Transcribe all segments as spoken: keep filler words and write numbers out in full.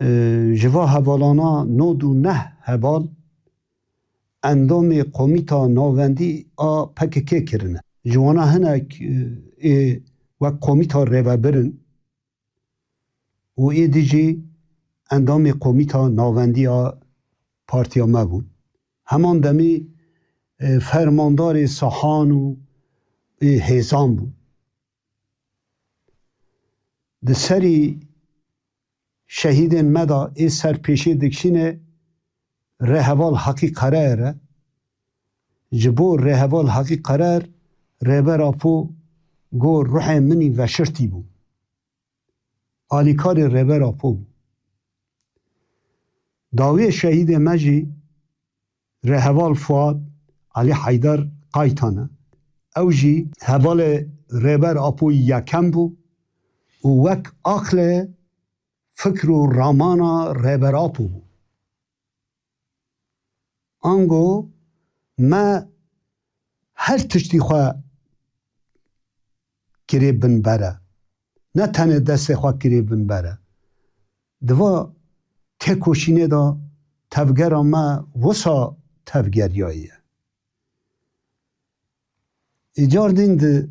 E, ji va hevalana nod û neh heval endamê Komîta Navendî a P K K kirine. Ji wana hinek, e, ê wek komîta rêvebir in û êdî jî endamê Komîta Navendî a partiya me bûn. Heman demî, e, fermandarê sahan û, e, hêzan bûn. Di serî şehîdên me de ê ser pêşê dikişîne rêheval Heqî Qerer e. Ji bo rêheval Heqî Qerer Rêber Apo got, ruhê min î veşirtî bû. Alîkarê Rêber Apo bû. Dawiyê şehîdê me jî rêheval Fuad Elî Heydar Qaytan e. Ew jî hevalê Rêber Apoyî yekem bû û wek aqlê fikr û ramana Rêber Apo bû. Ango me her tiştî xwe kirê bin ber e. Ne tenê destê xwe kirê bin ber e. Di va têkoşînê de tevgera me wisa tevgeriyayî ye. Îcar din di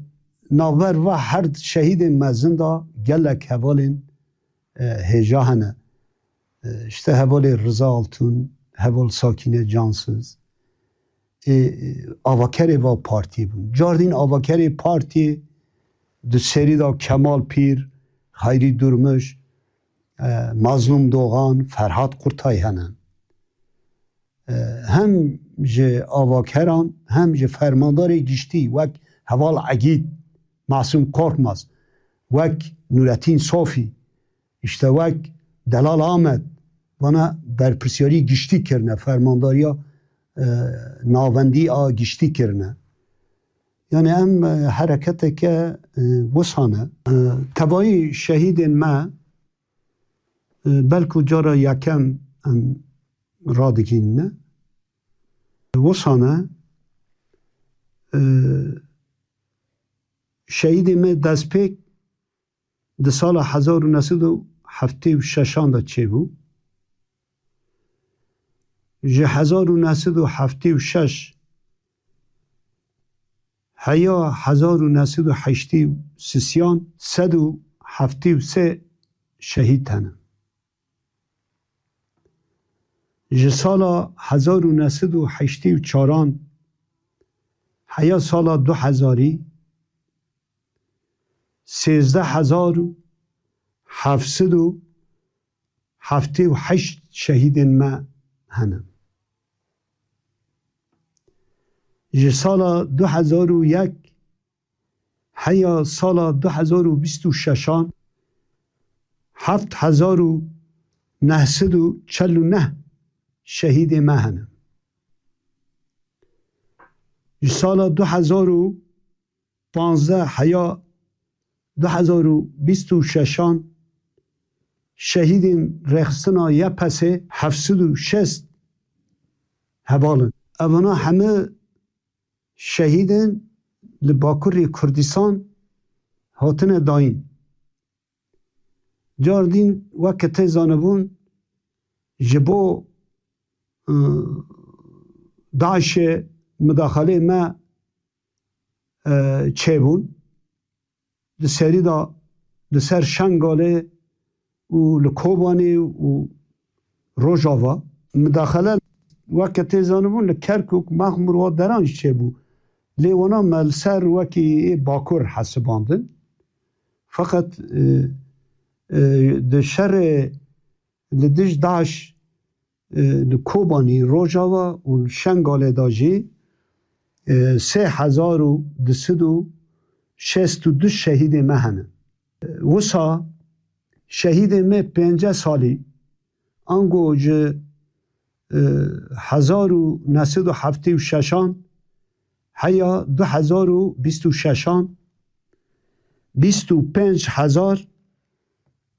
navber va her şehîdên mezin de gelek hevalên, e, hêja hene. E, işte hevalê Riza Altun, heval Sakîne Cansiz. E, e, avakerê va partiyê bûn. Car din avakerê partiyê di serî de Kemal Pîr, Xeyrî Durmuş, e, Mazlûm Dogan, Ferhat Kurtay hene. E, hem ji avakeran, hem ji fermandarê giştî wek heval Egîd, Masûm Korkmaz, wek Nurettin Sofî, işte wek Delal Ahmet, vana berpirsiyarî giştî kirine, fermandariya, e, navendî a giştî kirine. Yani em, e, hereketeke, e, wisa ne. E, tevayî şehîdên me, e, belku cara yekem em radigihînine. Wisa ne, e, şehîdê me destpêk di sala hezar û neh sed û heftê û şeşan de çêbû. Ji hezar û neh sed û heftê û şeş heya hezar û neh sed û heştê û sisiyan sed û heftê û sê şehîd hene. Ji sala hezar û neh sed û heştê û çaran heya sala du hezarî, sêzdeh hezar û heft sed û heftê û heşt şehîdên me hene. Ji sala du hezar û yek heya sala du hezar û bîst û şeşan heft hezar û neh sed û çel û neh şehîdê me hene. Ji sala du hezar û panzdeh heya du hezar û bîst û şeşan şehîdên rêxistina Y P S'ê heft sed û şêst heval in. Evana heme şehîdên li Bakurê Kurdistan hatine dayîn. Car din weke tê zanibûn ji bo, e, DAIŞê mudaxalê me, e, çêbûn. Di serî de li ser Şengalê û li Kobanê û Rojava. Midaxele weke tê zanibûn li Kerkûk, Mexmûr û deran jî çêbû. Lê wana me li ser wekî ê Bakur hesibandin. Feqet, e, e, di şerê li dij DAIŞ, e, li Kobanî, Rojava û li Şengalê de jî, e, sê hezar û du sed û şêst û du şehîdê me hene. Wisa şehîdê me pêncî salî, ango ji, e, hezar û neh sed û heftê û şeşan heya du hezar û bîst û şeşan, bîst û pênc hezar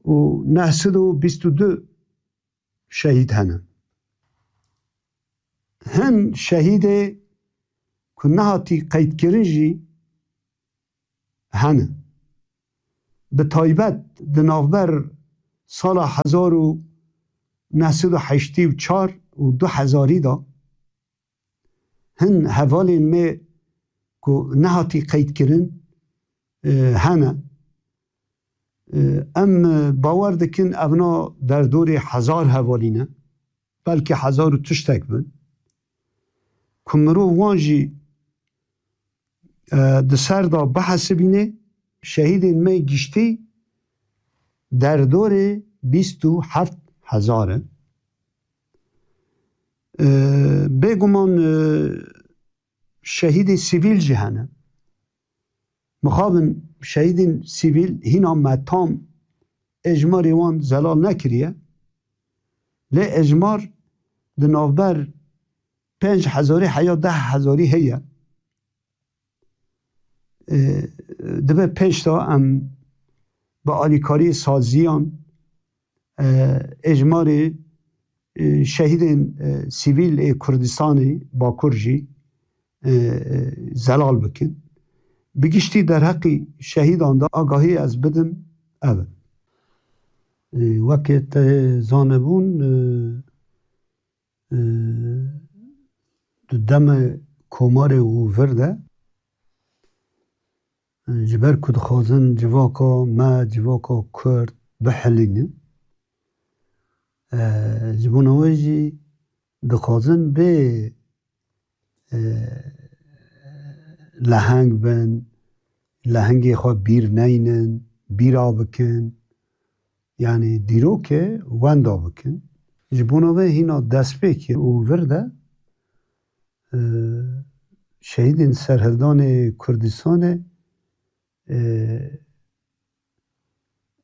û neh sed û bîst û du şehîd hene. Hin şehîdê ku nehatî qeydkirin jî hene. Bi taybet di navber sala hezar û neh sed û heştê û çar û du hezarî de hin hevalên me ku nehatî qeydkirin, e, hene. E, em, e, bawer dikin evna derdorê hezar hevalî ne, belkî hezar û tiştek bin. Ku mirov wan jî, e, di ser de bihesibîne, şehîdên me giştî derdorê bîst û heft hezar in. E, bêguman, e, şehîdê sivîl jî hene. Mixabin şehîdên sivîl hîna me tam êjmarê wan zelal nekiriye. Lê êjmar di navber pênc hezarî heya deh hezarî heye. E, dibe pêş de em bi alîkariyê saziyan, e, êjmarê, e, şehîdên, e, sivîl ê Kurdistanê Bakur jî, e, e, zelal bikin. Bi giştî derheqî şehîdan de agahî ez bidim, ev in. E, weke te zanibûn, e, e, di demê Komarê û vir de, e, ji ber ku dixwazin civaka me, civaka Kurd bihilînin, e, ji bona wê jî dixwazin bê, e, leheng bin, lehengê xwe bîr neynin, bîra bikin. Yanî dîrokê wenda bikin. Ji bona vê hîna destpêkê û vir de, e, şehîdên serhildanê Kurdistanê, e,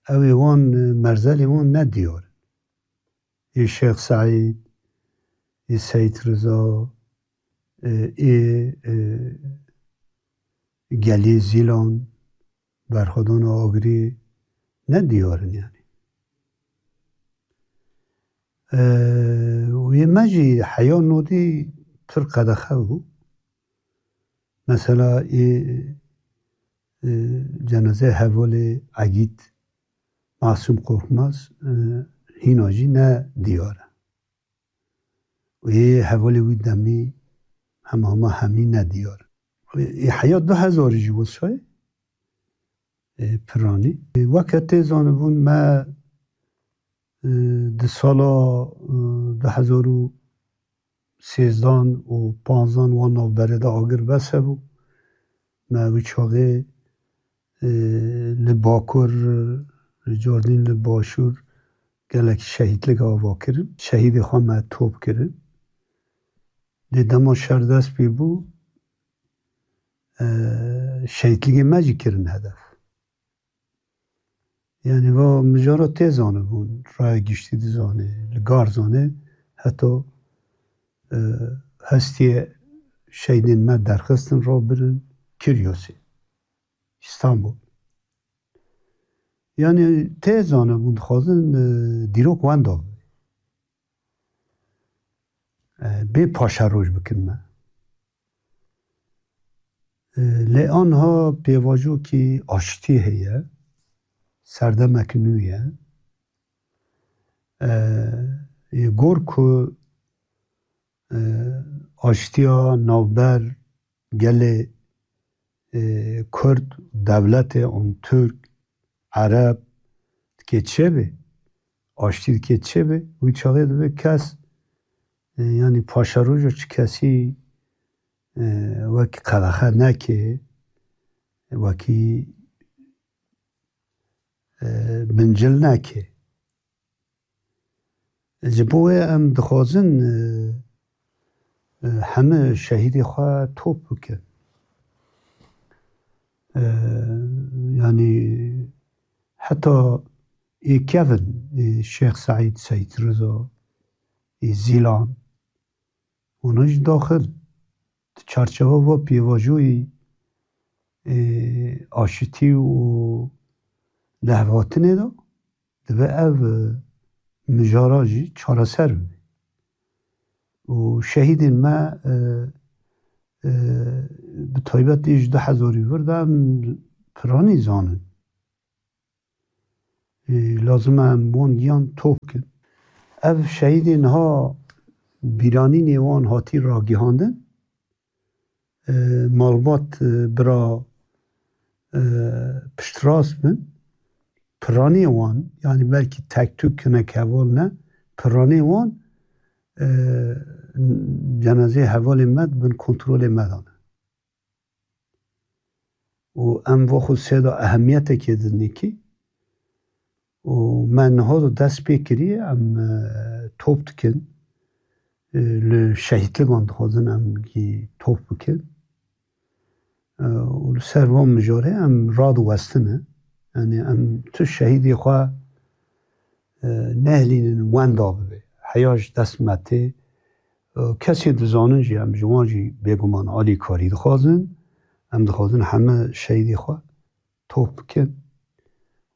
ew ê wan, e, merzelê wan ne diyar in. Ê Şêx Seîd, ê Seyîd Riza, e, ê, e, Gelê Zîlan, Berxwedana Agirî ne diyar in yanî. E, û yê me jî heya nodî pir qedexe bû. Mesela ê, e, cenazeyê hevalê Egîd Masûm Korkmaz, e, hîna jî ne diyar e. Û ê hevalê wî demî hema hema hemî ne diyar. Ê heya du hezarî jî wisa ye, e, piranî. E, weke tê zanibûn me, e, di sala, e, du hezar û sêzdan û panzdan wan navberê de agir bes hebû. Me wî çaxê, e, li Bakur, li Cordîn, li Başûr gelek şehîdlik ava kirin. Şehîdê xwe me top kirin. Lê dema şer dest pê bû, e, şehîdligê me jî kirin hedef. Yanî va mijara tê zanibûn, raya giştî dizanê, li gar zanê, heta, e, hestiyê şehîdên me derxistin, rabirin Kiryosê, Îstanbul. Yanî tê zanibûn, dixwazin, e, dîrok wenda bibe. E, bê paşeroj bikin me. E, lê anha pêvajoyekî aştî heye, serdemek nû ye. E, yê gor ku, e, aştiya navber gelê, e, Kurd, dewletê an Tirk, Ereb dike çêbê, aştî dike çêbê, wî çaxê divê kes, e, yanî paşeroja çi kesî, e, wekî qedexe neke, wekî, e, bincil neke. Ji bo wê em dixwazin, e, e, heme şehîdê xwe top bikin. E, yanî heta ê kevin, ê Şêx Seîd, Seyîd Riza, ê Zîlan, hûn jî daxil di çarçewa va pêvajoyî, ê, aşitî û lehvatinê de dibe ev, e, mijara jî çareser bibe. Û şehîdên me, e, e, bi taybet ê ji du hezarî vir de em piranî zanin. E, lazim e em wan giyan top kin. Ev şehîdê niha bîranînê wan hatî ragihandin. E, malbat, e, bira, e, piştrast bin. Piranê wan, yanî belkî tek tûk hinek heval ne, piranê wan, e, cenazeyê hevalê me di bin kontrolê me de ne. Û em va xwe sêda ehemiyetekê didin kî. Û me niha da dest pê kiriye, em, e, top dikin. E, li şehîtligan dixwazin em gî top bikin. E, û li ser van mijarê em radiwestine. Yanî em tu şehîdê xwe, e, nehlînin wenda bibe. Heya ji dest me tê. E, kesê dizanin jî em ji wan jî bêguman alîkarî dixwazin. Em dixwazin heme şehîdê xwe top bikin.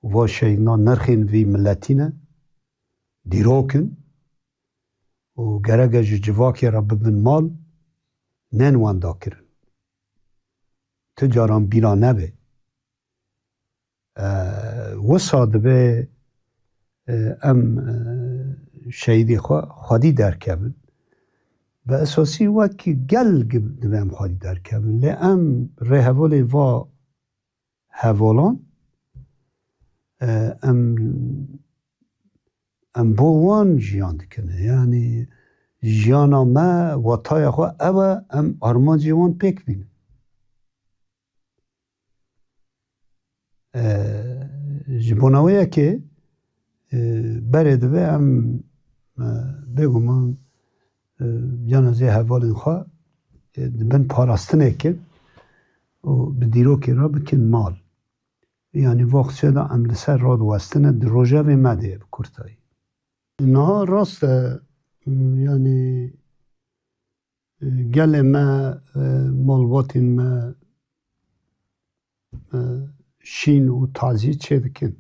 Va şehîdna nirxên vî miletî ne. Dîrok in. Û gerek e ji civakê re bibin mal, nên wenda kirin. Ti caran bîra nebe. E, wisa dibe, e, em, e, şehîdê xwe xwedî derkevin. Bi esasî wek gel gi-, dibe em xwedî derkevin. Lê em rêhevalê va hevalan, e, em, em bo wan jiyan dikin. Yanî jiyana me, wataya xwe ew e, em armancê wan pêk bînin. E, ji bona wê yekê, e, berê dibe em, e, bêguman, e, cenazeyê hevalên xwe, e, di bin parastinê kin û bi dîrokê re bikin mal. Yanî vaxtçe de em li ser radiwestine di rojevê me de ye bi kurtayî. Niha rast e, yanî, e, gelê me, e, malbatên me, e, şîn û tazî çêdikin.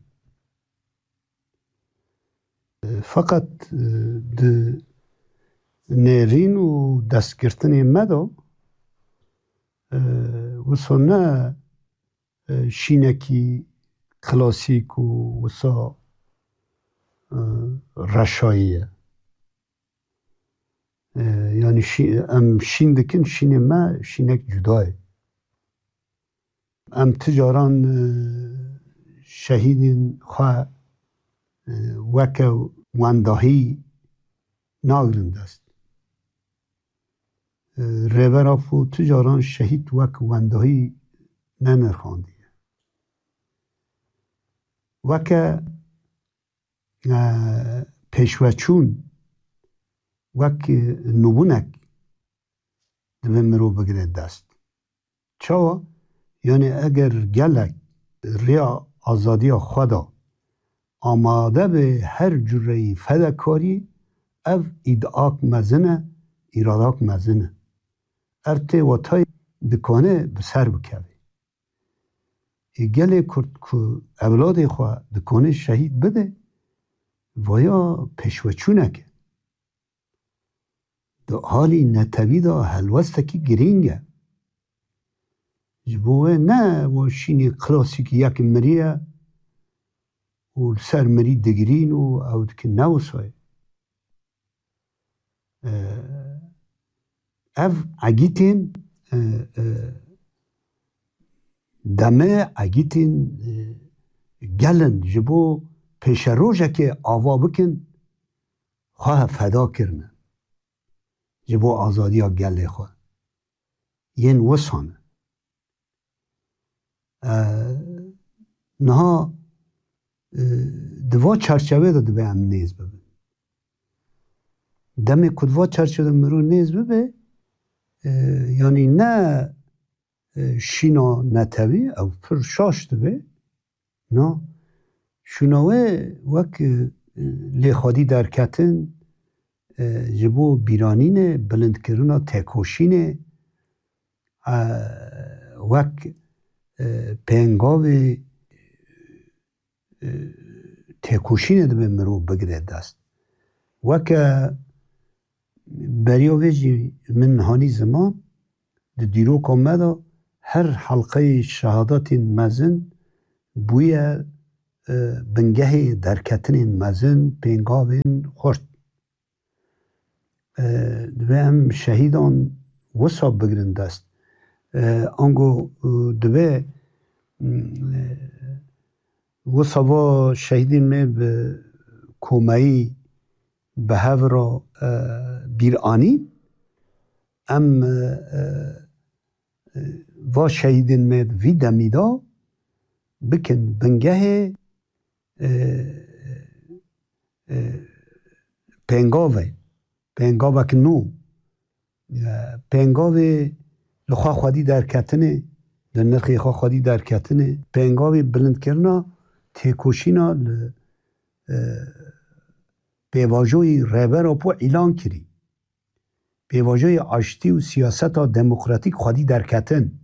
E, feqet, e, di nêrîn û destgirtinê me de, e, wisa ne, e, şînekî klasîk û wisa, e, reşayî ye. E, yanî şî-, em şîn dikin, şînê me şînek cuda ye. Em ti caran, e, şehîdên xwe, e, weke wendahî nagrin dest. E, Rêber Apo ti caran şehîd wek wendahî nenirxandiye. Weke, e, pêşveçûn, wek, e, nûbûnek dibe mirov bigire dest. Çawa? Yanî eger gelek rêya azadiya xwe de amade be her cureyî fedekarî, ev îdiak mezin e, îradak mezin e. Ev tê watayê dikane bi ser bikeve. Ê gelê Kurd ku ewladê xwe dikane şehîd bide, vaya pêşveçûnek e. Di alî netewî de helwestekî girîng e. Ji bo wê ne wa şînê klasîk yek miriye û li ser mirî digirîn û ew dikin ne wisa ye. Ev egîtên, e, e, demê egîtên, e, gel in ji bo pêşerojekê ava bikin, xwe feda kirine ji bo azadiya gelê xwe. Yên wisa ne. E, niha, e, di va çarçevê de dibe em nêz bibin. Demê ku di va çarçevê de mirov nêz bibe, e, yanî ne, e, şîna netewî, ew pir şaş dibe. Na, şûna wê wek, e, lê xwedî derketin, e, ji bo bîranînê, bilindkirina têkoşînê, e, wek, e, pêngavê, e, têkoşînê dibe mirov bigire dest. Weke beriya vê jî min hanî ziman, di dîroka me de her helqeyê şehadatên mezin bûye, e, bingehê derketinên mezin, pêngavên xurt. E, divê em şehîdan wisa bigrin dest. E, ango, e, divê, mm, e, wisa va şehîdên me bi komeyî, bi hev re, e, bîr anîn. Em, e, e, va şehîdên me di vî demî de bikin bingehê, e, e, pêngavê, pêngavek nû, e, pêngavê li xwe xwedî derketinê, li nirxê xwe xwedî derketinê, pêngavê bilindkirina têkoşîna li, e, pêvajoyî Rêber Apo îlan kirî. Pêvajoyê aştî û siyaseta demokratîk xwedî derketin.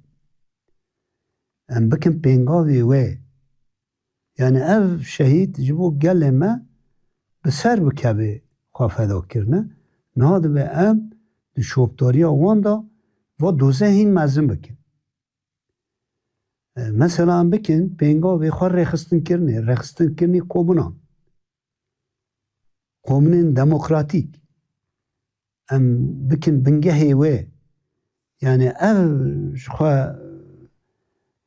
Em bikin pêngavê wê. Yani ev şehîd ji bo gelê me bi ser bikevê xwe feda kirine. Niha dibe em di şopdariya wan de va doze hîn mezin bikin. E, mesela em bikin pêngavê xwe rêxistinkirinê, rêxistinkirinê komunan. Komunên demokratîk. Em bikin bingehê wê. Yani ev ji xwe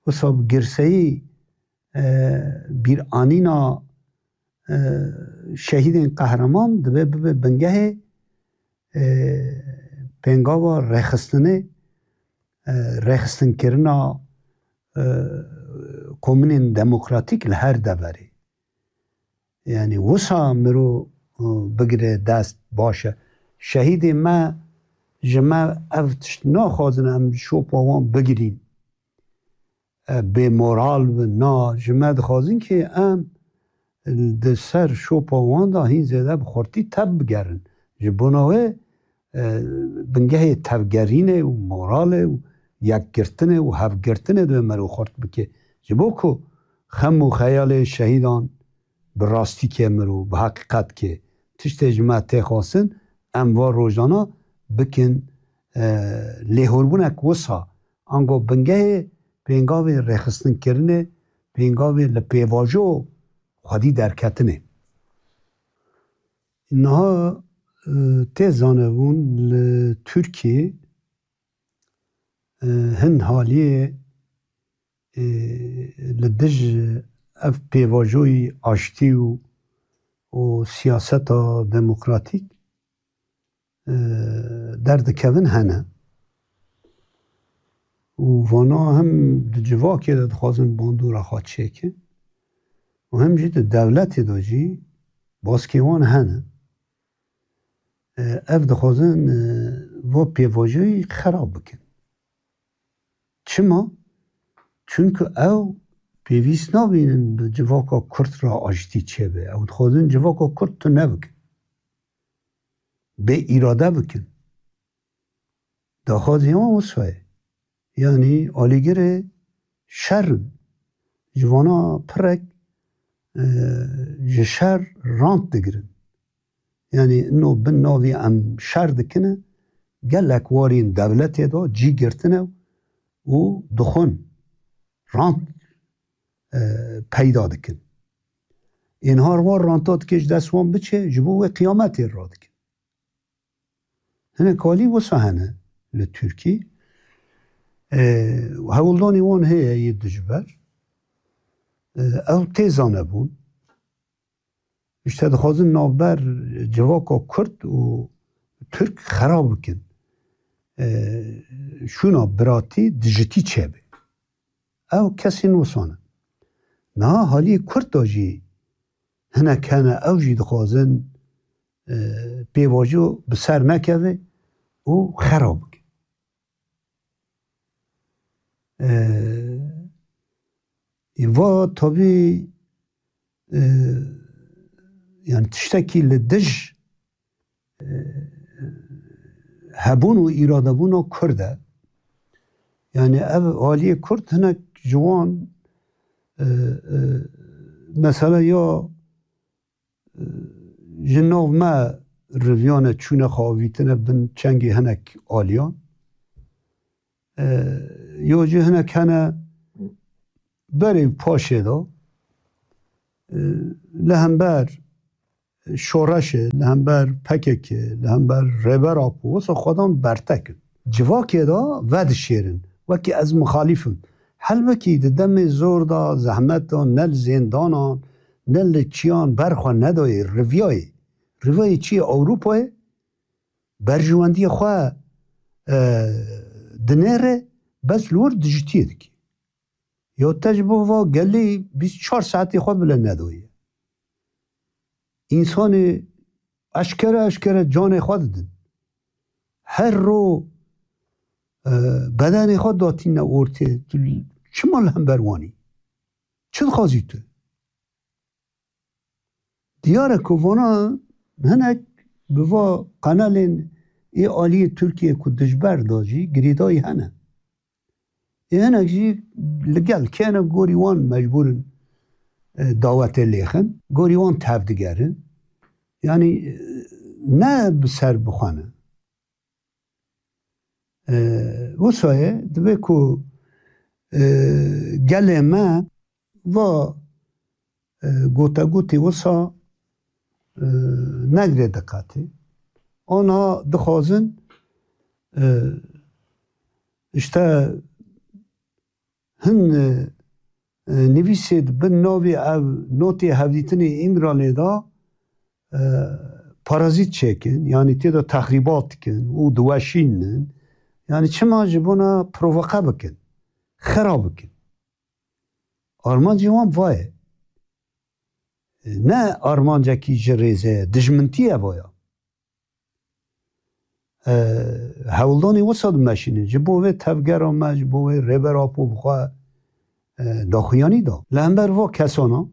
wisa bi girseyî, e, bîranîna, e, şehîdên qehreman dibe bibe bingehê, e, pêngava rêxistinê, e, rêxistinkirina, e, komunên demokratîk li her deverê. Yani wisa miro, e, bigire dest baş e. Şehîdê me ji me ev tişt naxwazin em şopa wan bigirîn. E, bê moral bin. Na, ji me dixwazin ki em di ser şopa wan de hîn zêde bi xurtî tev bigerin. Ji bona wê, e, bingehê tevgerînê û moralê û yekgirtinê û hevgirtinê divê mero xurt bike. Ji bo ku xem û xeyalê şehîdan bi rastî ke miro, bi heqîqet ke tiştê ji me tê xwestin, em va rojana bikin, e, lêhorbunek wisa. Ango bingehê pêngavê rêxistinkirinê, pêngavê li pêvajo xwedî derketinê. Niha, e, tê zanebûn li Tirkiyê, e, hin haliyê, e, li dij ev pêvajoyî aştî û, û siyaseta demokratîk, e, derdikevin hene. Û vana hem di civakê de dixwazin bandora xwe çêkin û hem jî di dewletê de jî baskê wan hene. E, ev dixwazin, e, va pêvajoyî xerab bikin. Çima? Çunku ew pêwîst nabînin bi civaka Kurd re aştî çêbe. Ew dixwazin civaka Kurd tune bikin. Bê îrade bikin. Daxwazê wan wisa ye. Yanî alîgirê şer in. Ji vana pirek, e, ji şer rant digirin. Yanî ino bin navî em şer dikine, gelek warên dewletê de cî girtine û dixwin rant, e, peyda dikin. Ên har war ranta dike ji dest wan biçe, ji bo wê qiyametê radikin. Hinek alî wisa hene li Tirkî. E, hewldanê wan heye yê dijber. E, ew tê zanebûn. Îşte dixwazin navber civaka Kurd û Tirk xerab bikin. E, şûna biratî dijitî çêbe. Ew kesên wisa ne. Niha haliyê Kurd de jî hinek hene, ew jî dixwazin, e, pêvajo bi ser nekeve û xerab bikin. E, va tabî, e, yani tiştekî li dij, e, hebûn û îradebûna Kurd e. Yani ev aliyê Kurd hinek ji wan, e, e, mesela ya, e, ji nav me riviyane çûne xwe avîtine bin çengê hinek aliyan. E, yo jî hinek hene berê û paşê de, e, li hember şoreşê, li hember P K K, li hember Rêber Apo, wisa xwedan bertek in. Civakê de vedişêrin. Wekî ez mixalîf im. Helbekî di demê zor de, zehmet de, ne li zêndanan, ne li çiyan ber xwe nedayê, riviyayê. Riviyayê çi ye? Ewropayê berjewendiyê xwe, e, dinêre, bes li wir dijitiyê dike. Ya te ji bo va gelî bîst çar saetê xwe bile nedaye. Însanê eşkere eşkere canê xwe didin. Her ro, e, bedenê xwe datîne ortê. Tu çima li hember wan î? Çi dixwazî tu? Diyar e ku vana hinek bi va qenalên ê aliyê Tirkiyê ku dijber da jî girêdayî hene. Ê hinek jî li gel kene gorî wan mecbûr in, e, dawetê lêxin. Gorî wan tev digerin. Yanî, e, ne bi ser bixwe ne. E, wisa ye, dibe ku, e, gelê me va, e, gotegotê wisa, e, negre diqetê. Ana dixwazin, e, işte hin, e, e, nivîsê di bin navê ev notê hevdîtinê Îmralê de, e, parazît çêkin, yanî tê de texrîbat dikin û diweşînin. Yanî çima ji bona provoke bikin, xera bikin. Armancê wan va ye. Ne armancekî ji rêze ye, dijmintî ye va ya. E, hewldanê wisa dimeşînin. Ji bo vê tevgera me, ji bo vê Rêber Apo bi xwe, e, daxuyanî da. Li hember va kesana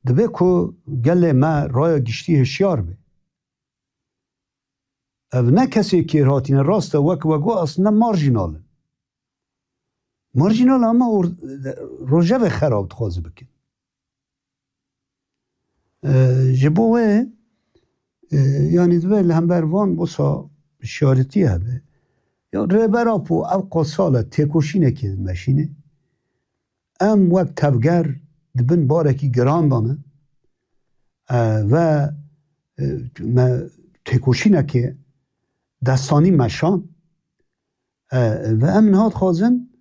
dibe ku gelê me raya giştî hişyar be. Ev ne kesê kêrhatî ne, rast e, wek we got, aslında marjînal in. Marjînal ama or-, rojevê xerab dixwaze bikin. E, ji bo wê, e, yanî divê li hember van wisa şaretî hebe. Ya Rêber Apo ev qasal e, têkoşînekê dimeşîne. Em wek tevger di bin barekî giran de ne, e, ve, e, me têkoşînekê destanî meşan, e, ve em niha dixwazin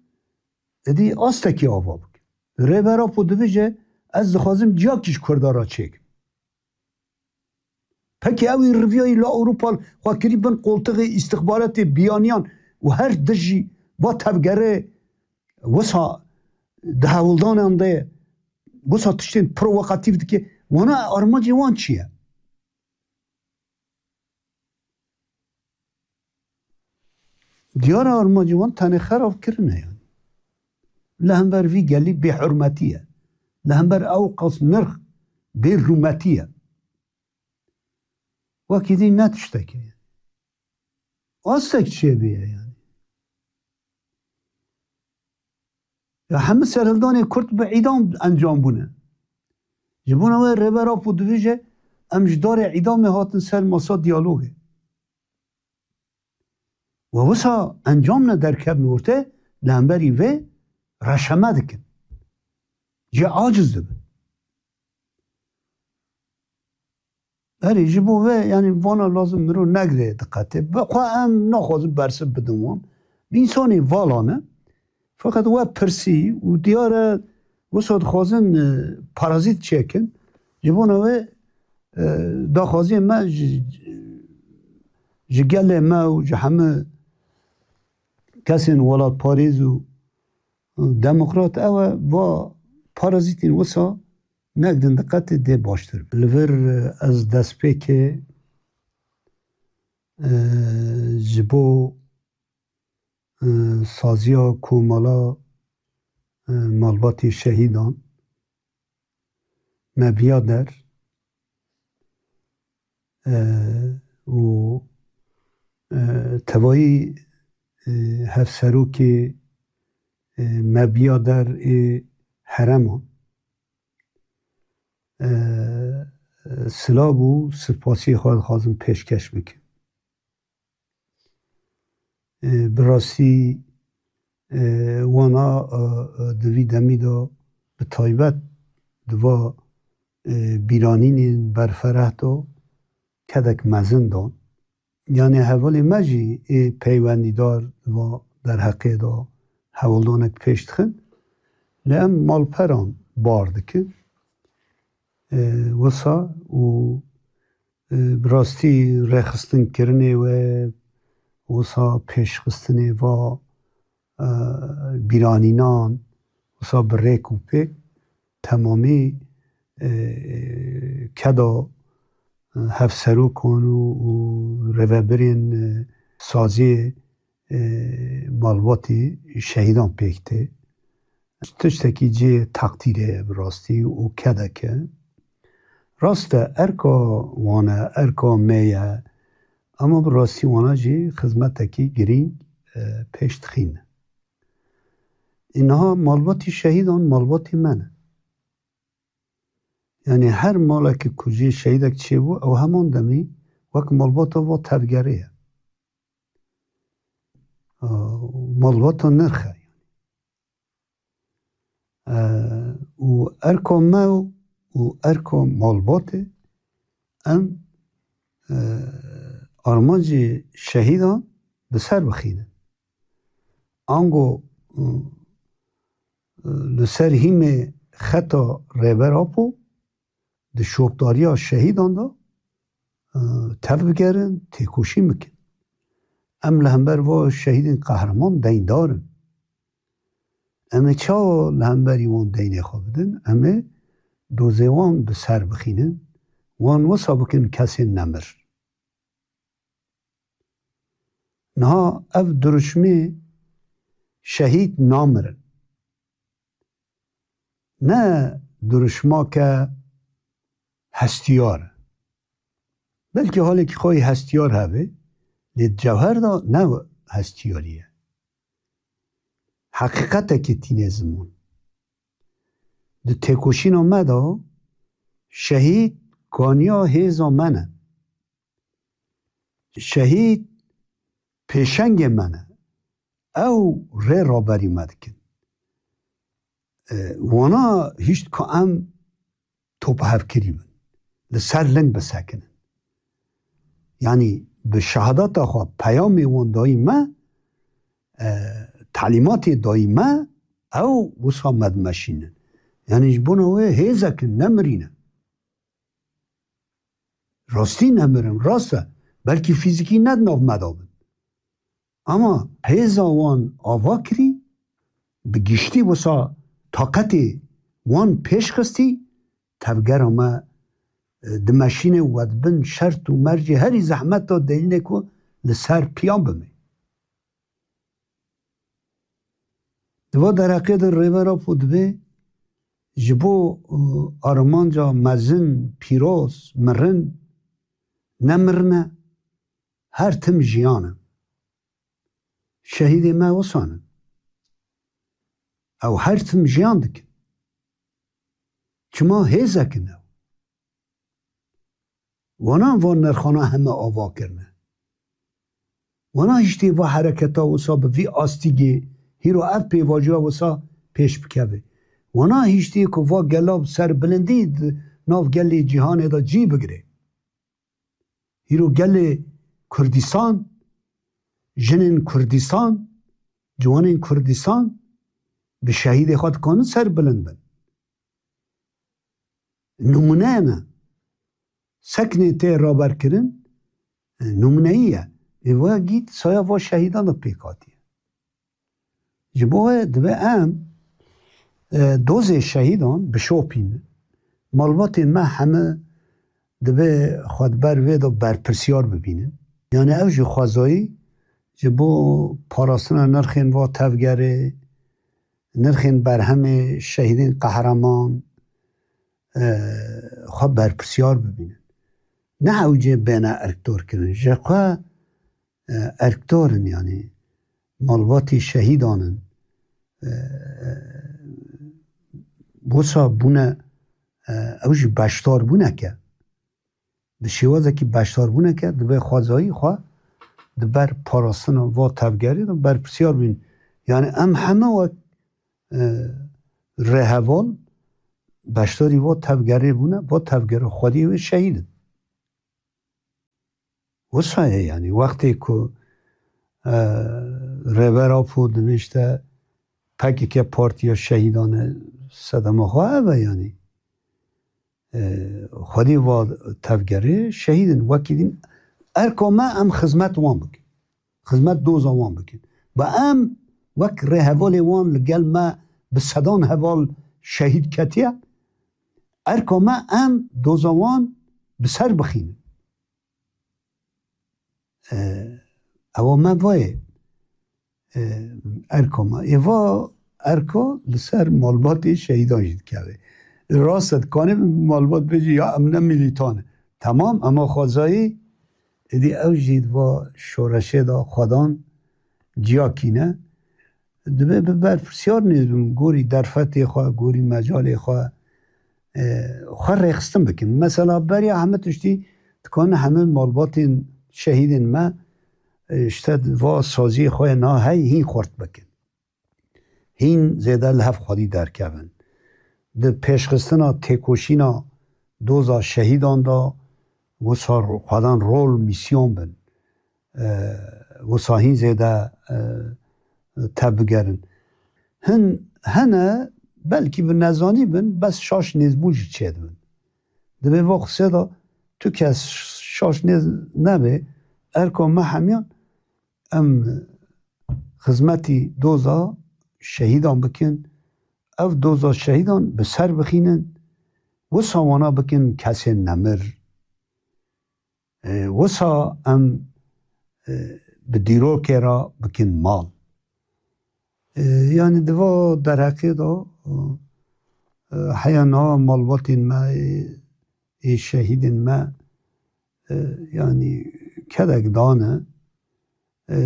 êdî astekî ava bikin. Rêber Apo dibêje, ez dixwazim ciyakî ji Kurda re çêkim. Pekî ew ê riviyayî li Ewropa xwe kirî bin qoltixê îstixbaratê biyaniyan û her dijî va tevgerê wisa di hewldanan de wisa tiştên provokatîf dike. Wana armancê wan çi ye? Diyar e armancê wan tenê xerabkirin e yani. Li hember vî gelî bêhurmetî ye. Li hember ew qas nirx bêrûmetî ye. Wekî dî ne tiştekê ye. Astek çêbûye yani. Ya hemû serhildanê Kurd bi îdam encam bûne. Ji bona wê Rêber Apo dibêje, em ji darê îdamê hatin ser masa diyalogê. We wisa encam ne derkevin orte, li hemberî vê reşeme dikin. Cê aciz dibin. Erê, ji bo vê, yanî vana lazim mirov negire diqetê. Bi xwe em naxwazin bersiv bidin wan. Bi însanê vala ne. Feqet we pirsî û diyar e, wisa dixwazin, e, parazît çêkin. Ji bona wê, e, daxwaziyê me ji, ji gelê me û ji hemû kesên welatparêz û demokrat ew e, va parazîtên wisa negdin diqetê dê baştir be. Li vir, e, ez destpêkê, e, ji bo, e, saziya komala, e, malbatê şehîdan, me biya der, e, û, e, tevayî, e, hevserokê, e, me biya der ê hereman, e, silav û spasiyê xwe dixwazim pêşkeş bikim. E, bi rastî, e, wana, e, e, di vî demî de bi taybet di va e, bîranînên berfereh da, kedek mezin dan. Yanî hevalê me jî ê peywendîdar va derheqê da hewldanek pêş dixin. Lê em malperan bar dikin. E, wisa û, e, bi rastî rêxistinkirinê we, wisa pêşxistinê va, e, bîranînan, wisa bi rêk û pêk temamî, e, keda, e, hevserokan û, û rêvebirên, e, saziyê, e, malbatê şehîdan pêk tê. Tiştekî cihê teqdîrê ye bi rastî û kedek e. Rast e, erka wan e, erka me ye, ama bi rastî wana jî xizmetekî girîng, e, pêş dixîne. Îniha malbatî şehîdan malbatî me ne. Yanî her malekî ku jê şehîdek çêbû, ew heman demî wek malbata va tevgerê ye. E, malbata nirx e. E, û erka me û erka malbatê em, e, armancê şehîdan bi ser bixînin. Ango, e, e, li ser hîmê xeta Rêber Apo di şopdariya şehîdan de, e, tev bigerin, têkoşîn bikin. Em li hember va şehîdên qehreman deyndar in. Em ê çawa li hemberî wan deynê xwe bidin? Em ê dozê wan bi ser bixînin, wan wisa bikin kesên nemir. Niha ev dirûşmê şehîd namirin. Ne dirûşmake hestiyar e. Belkî halekî xwe yê hestiyar hebe, lê di cewher de ne hestiyarî ye. Heqîqetekê tîne ziman. Di têkoşîna me de şehîd kaniya hêza me ne. Şehîd pêşengê me ne. Ew rê raberî me dikin. E, wana hişt ku em tophevkirî bin. Li ser ling bisekinin. Yanî bi şehadata xwe peyamê wan dayî me, e, telîmatê dayî me, ew wisa me dimeşînin. Yanî ji bona wê hêzekin, nemirîne. Rastî nemirin, rast e. Belkî fîzîkî ne di nav me de bin. Ama hêza wan ava kirî, bi giştî wisa taqetê wan pêş xistî, tevgera me, e, dimeşîne û we dibin şert û mercê herî zehmet de delîlê ku li ser piyan bimê. Di va derheqê de Rêber Apo dibê ji bo, e, armanca mezin, pîroz, mirin, ne mirin e, her tim jiyan e. Şehîdê me wisa ne. Ew her tim jiyan dikin. Çima hêzek in ew? Wana van nirxana heme ava kirine. Wana hiştê va hereketa wisa bi vî astigê, hîro ev pêvajoya wisa pêş bikeve. Wana hiştê ku va gela bi ser bilindî di nav gelê cîhanê de cî bigire. Hîro gelê Kurdistan, jinên Kurdistan, ciwanên Kurdistan bi şehîdê xwe dikanin serbilind bin. Nimûne ne. Sekinê tê raberkirin, e, nimûneyî ye. Ê we gît saya va şehîdan de pêk hatiye. Ji bo wê dibe em, e, dozê şehîdan bişopînin. Malbatên me heme dibe xwe di ber vê de berpirsiyar bibînin. Yani ew jî xwezayî ji bo parastina nirxên va tevgerê, nirxên berhemê şehîdên qehreman, e, xwe berpirsiyar bibînin. Ne hewcê bêne erkdorkirin. Ji xwe, e, erkdor in, yanî malbatî şehîdan in. E, wisa bûne, e, ew jî beşdarbûneke. Bi şêwazekî beşdarbûneke dibe xwezayî xwe di ber parastina va tevgerê de berpirsiyar bîn. Yani em heme wek, e, rêheval beşdarî va tevgerê bûne, va tevgera xwedî wê şehîd in. Wisa ye, yanî wextê ku, e, Rêber Apo dibêjte P K K partiya şehîdan e, sedema xwe ev e, yanî. E, xwedî va tevgerê şehîd in, wekî din erka me em xizmet wan bikin. Xizmet doza wan bikin. Ba em wek rêhevalê wan li gel me bi sedan heval şehîd ketiye. Erka me em doza wan bi ser bixînin. E, ewa me vayê, e, erka me. Ê va erka li ser malbatê şehîdan jî dikeve. Rast e, dikanê malbat bêjî ya em ne milîtan in. Temam, ema xwezayî, êdî ew jî di va şoreşê de xwedan ciyakî ne. Dibe bi berpirsiyar nêz bim, gorî derfetê xwe, gorî mecalê xwe, e, xwe rêxistin bikin. Mesela beriya heme tiştî dikanin heme malbatên şehîdên me, e, işte va saziyê xwe na hey hîn xurt bikin. Hîn zêde li hev xwedî derkevin. Di pêşxistina têkoşîna doza şehîdan de wisa xwedan rol, mîsyon bin. E, wisa hîn zêde, e, tevbigerin. Hin hene belkî bi nezanî bin, bes şaş nêzbûn jî çêdibin. Di vê va qisê de tu kes şaş nêz nebe, erka me hemiyan em xizmetî doza şehîdan bikin, ev doza şehîdan bi ser bixînin, wisa wana bikin kesên nemir. E, wisa em, e, bi dîrokê re bikin mal. E, yanî di va derheqê de, e, heya niha malbatên me, ê, ê şehîdên me, e, yanî kedek dane, e,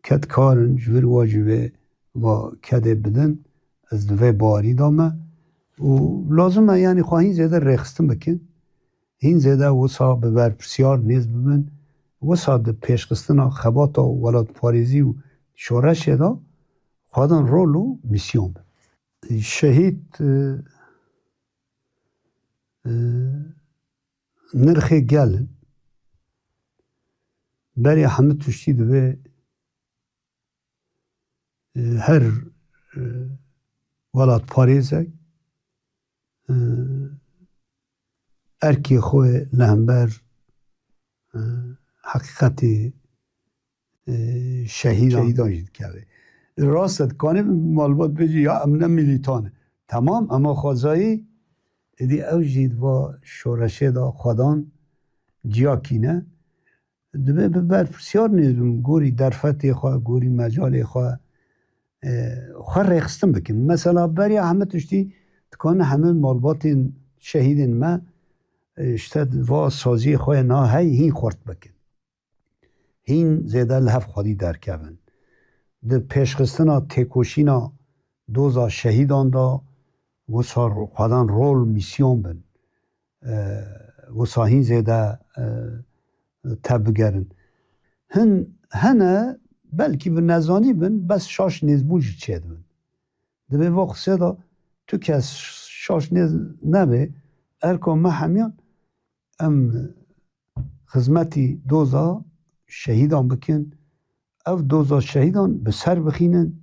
ked karin ji vir wa jî vê va kedê bidin, ez di vê bawerî de me û lazim e, yanî xwe hîn zêde rêxistin bikin, hîn zêde wisa bi berpirsiyar nêz bibin, wisa di pêşxistina xebata welatparêzî û şoreşê de xwedan rol û mîsyon bin. Şehîd, e, e, nirxê gel in. Berê hemû tiştî divê, e, her, e, welatparêzek, e, erkê xwe li hember, e, heqîqetê, e, şehîdan, şehîdan jî dikeve. Rast e, dikanê malbat bêjî ya em ne milîtan in. Temam, ema xwezayî, êdî ew jî di va şoreşê de xwedan ciyakî ne. Dibe bi berpirsiyar nêz bim, gorî derfetê xwe, gorî mecalê xwe, e, xwe rêxistin bikin. Mesela beriya heme tiştî dikanin heme malbatên şehîdên me, e, işte va saziyê xwe na hey hîn xurt bikin. Hîn zêde li hev xwedî derkevin. Di pêşxistina têkoşîna doza şehîdan de wisa xwedan rol, mîsyon bin. E, wisa hîn zêde, e, tevbigerin. Hin hene belkî bi nezanî bin, bes şaş nêzbûn jî çêdibin. Di vê va qisê de tu kes şaş nêz nebe, erka me hemiyan em xizmetî doza şehîdan bikin, ev doza şehîdan bi ser bixînin,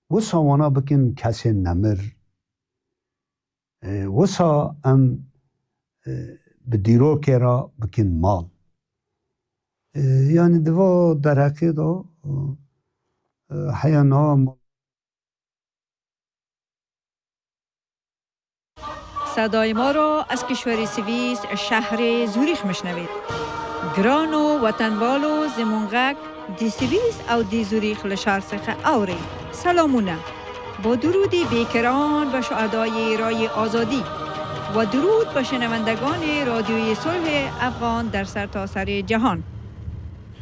wisa wana bikin kesên nemir. E, wisa em, e, bi dîrokê re bikin mal. E, yanî di va derheqê de, e, heya niha mal. صدای ما را از کشور سوئیس، شهر زوریخ می‌شنوید. گران و وطنبال و زمونغک دی سوئیس او دی زوریخ لشار سخه آوری. سلامونه. با درود بیکران به شهدای رای آزادی و درود به شنوندگان رادیوی صلح افغان در سرتاسر جهان.